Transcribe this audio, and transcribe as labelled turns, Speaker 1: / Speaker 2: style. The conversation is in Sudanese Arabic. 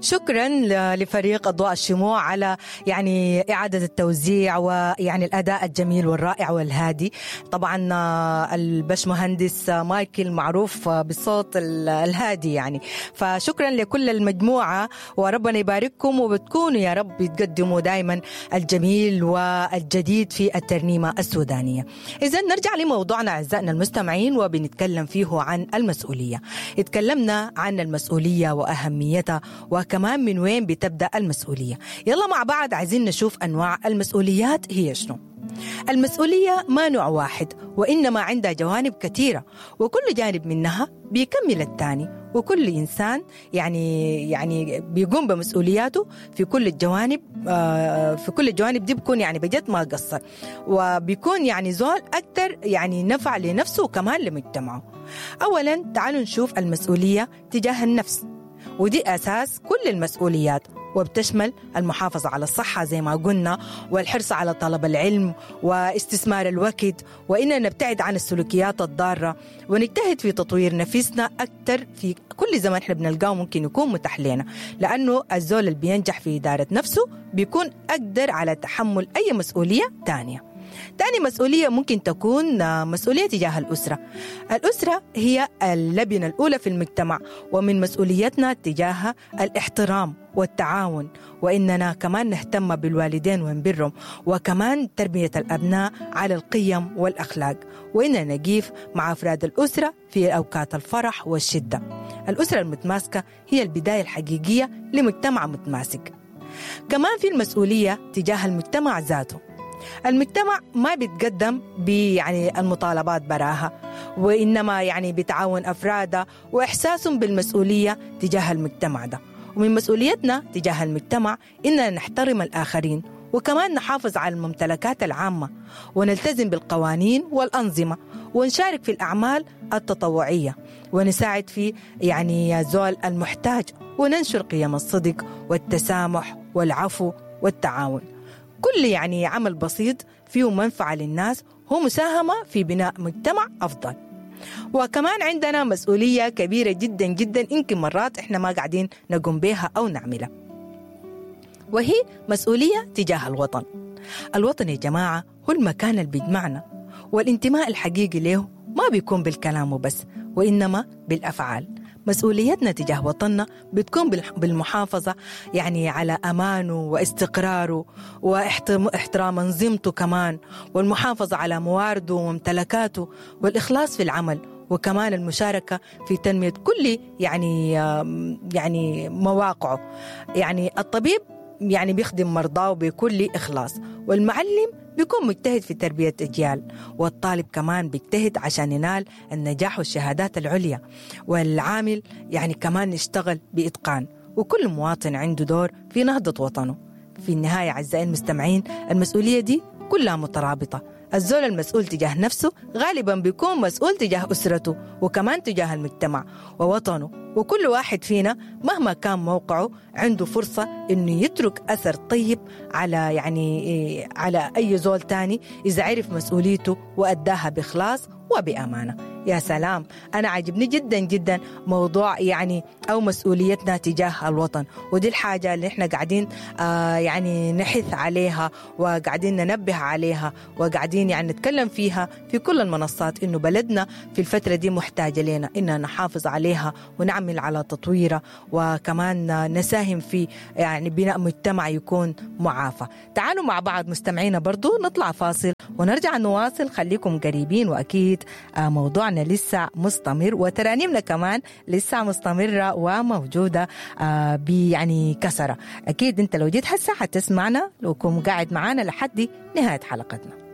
Speaker 1: شكرا لفريق أضواء الشموع على يعني إعادة التوزيع ويعني الأداء الجميل والرائع والهادي. طبعا البشمهندس مايكل معروف بالصوت الهادي يعني، فشكرا لكل المجموعة وربنا يبارككم، وبتكونوا يا رب تقدموا دائما الجميل والجديد في الترنيمة السودانية. إذا نرجع لموضوعنا أعزائنا المستمعين، وبنتكلم فيه عن المسؤولية. اتكلمنا عن المسؤولية وأهميتها، وكمان من وين بتبدأ المسؤولية. يلا مع بعض عايزين نشوف أنواع المسؤوليات هي شنو. المسؤولية ما نوع واحد، وإنما عندها جوانب كثيرة، وكل جانب منها بيكمل الثاني، وكل إنسان يعني بيقوم بمسؤولياته في كل الجوانب، في كل الجوانب دي بيكون يعني بجد ما قصر، وبيكون يعني زول أكثر يعني نفع لنفسه وكمان لمجتمعه. أولا تعالوا نشوف المسؤولية تجاه النفس، ودي أساس كل المسؤوليات، وبتشمل المحافظة على الصحة زي ما قلنا، والحرص على طلب العلم واستثمار الوقت، وإننا نبتعد عن السلوكيات الضارة، ونجتهد في تطوير نفسنا أكثر في كل زمن احنا بنلقاه ممكن يكون متاح لنا، لأنه الزول اللي بينجح في إدارة نفسه بيكون أقدر على تحمل أي مسؤولية تانية. تاني مسؤولية ممكن تكون مسؤولية تجاه الأسرة. الأسرة هي اللبنة الأولى في المجتمع، ومن مسؤوليتنا تجاهها الاحترام والتعاون، وإننا كمان نهتم بالوالدين ونبرهم، وكمان تربية الأبناء على القيم والأخلاق، وإننا نقيف مع أفراد الأسرة في أوقات الفرح والشدة. الأسرة المتماسكة هي البداية الحقيقية لمجتمع متماسك. كمان في المسؤولية تجاه المجتمع ذاته. المجتمع ما بيتقدم يعني المطالبات براها، وإنما يعني بتعاون أفراده وإحساسهم بالمسؤولية تجاه المجتمع ده. ومن مسؤوليتنا تجاه المجتمع إننا نحترم الآخرين، وكمان نحافظ على الممتلكات العامة، ونلتزم بالقوانين والأنظمة، ونشارك في الأعمال التطوعية، ونساعد في يعني زول المحتاج، وننشر قيم الصدق والتسامح والعفو والتعاون. كل يعني عمل بسيط فيه منفعة للناس هو مساهمة في بناء مجتمع أفضل. وكمان عندنا مسؤولية كبيرة جدا جدا يمكن مرات إحنا ما قاعدين نقوم بها أو نعملها، وهي مسؤولية تجاه الوطن. الوطن يا جماعة هو المكان اللي بيجمعنا، والانتماء الحقيقي له ما بيكون بالكلام وبس، وإنما بالأفعال. مسؤوليتنا تجاه وطننا بتكون بالمحافظة يعني على أمانه واستقراره واحترام أنظمته كمان، والمحافظة على موارده وممتلكاته، والإخلاص في العمل، وكمان المشاركة في تنمية كل يعني مواقعه. يعني الطبيب يعني بيخدم مرضاه بكل إخلاص، والمعلم بيكون مجتهد في تربية أجيال، والطالب كمان بيجتهد عشان ينال النجاح والشهادات العليا، والعامل يعني كمان يشتغل بإتقان، وكل مواطن عنده دور في نهضة وطنه. في النهاية أعزائي المستمعين، المسؤولية دي كلها مترابطة. الزول المسؤول تجاه نفسه غالبا بيكون مسؤول تجاه أسرته، وكمان تجاه المجتمع ووطنه، وكل واحد فينا مهما كان موقعه عنده فرصة إنه يترك أثر طيب على يعني على أي زول تاني إذا عرف مسؤوليته وأداها بإخلاص وبأمانة. يا سلام، أنا عجبني جدا جدا موضوع يعني أو مسؤوليتنا تجاه الوطن، ودي الحاجة اللي احنا قاعدين يعني نحث عليها، وقاعدين ننبه عليها، وقاعدين يعني نتكلم فيها في كل المنصات، إنه بلدنا في الفترة دي محتاجة لنا إننا نحافظ عليها ونعمل على تطويرها، وكمان نساهم في يعني بناء مجتمع يكون معافى. تعالوا مع بعض مستمعينا برضو نطلع فاصل ونرجع نواصل، خليكم قريبين، وأكيد موضوعنا لسه مستمر وترانيمنا كمان لسه مستمرة وموجودة يعني كسرة. أكيد أنت لو جيت هسه حتسمعنا لو كنت قاعد معانا لحد نهاية حلقتنا.